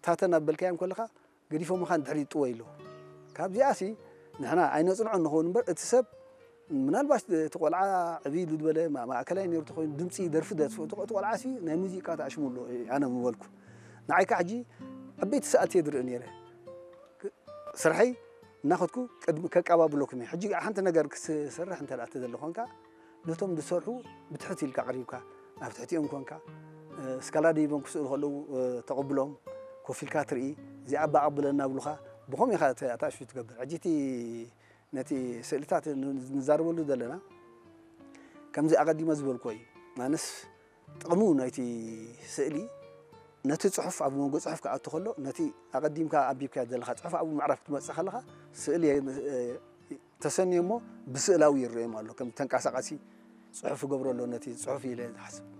ተኸታተልና በልካዮም ከለኻ ገዲፎምኻ ንድሕሪት ጥወይ ኣለዉ። ካብዚኣሲ ንሕና ኣይነጽንዖ ንኸውን እምበር፣ እቲ ሰብ ምናልባት እቲ ቆልዓ ዕብይ ኢሉ ዝበለ ማ-፣ ማእከላይ ነይሩ ተኾይኑ ድምጺ ደርፊ ደርፊ፣ እቲ ቆ-፣ እቲ ቆልዓሲ ናይ ሙዚቃ ተኣሽሙ ኣሎ፣ ኣነ ምበልኩ። ንዓይ ከኣ ሕጂ ዓበይቲ ሰኣልቲ እየ ዝርኢ ነይረ። ክ-፣ ስርሐይ እናኸድኩ ቅድሚ ከቀባብለኩም እየ። ሕጂ ሓንቲ ነገር ክሰርሕ እንተ ደኣ ተደሊ ኾንካ፣ ነቶም ዝሰርሑ ብትሕት ኢልካ ኣቕሪብካ፣ ኣብ ትሕቲኦም ኮንካ፣ እ፣ ስካላ ደይቦም ክስእሉ ከለዉ፣ እ፣ ተቐብሎም፣ ኮፍ ኢልካ ትርኢ፣ እዚኣ ኣባ ኣቐብለና ብሉኻ፣ ብኸምኡ ኢኻ ተ-፣ ኣታእሽቱ ትገብር። ሕጂ እቲ ነቲ ስእልታት ን-፣ ንዛረበሉ ዘለና፣ ከምዚ ኣቐዲመ ዝበልኩዎ እዩ። ማንስ ጥቕሙ ናይቲ ስእሊ፣ ነቲ ጽሑፍ ኣብ መንጎ ጽሑፍ ክኣቱ ከሎ፣ ነቲ ኣቐዲምካ ኣንቢብካዮ ዘለኻ ጽሑፍ ኣብኡ ምዕራፍ ክትመጽእ ከለኻ፣ ስእሊ፣ እ፣ ተሰንዩ እሞ ብስእላዊ ይረኣዮም ኣሎ። ከም ተንቀሳቓሲ ጽሑፍ ይገብሮ ኣሎ ነቲ ጽሑፍ ኢለ ዝሓስብ።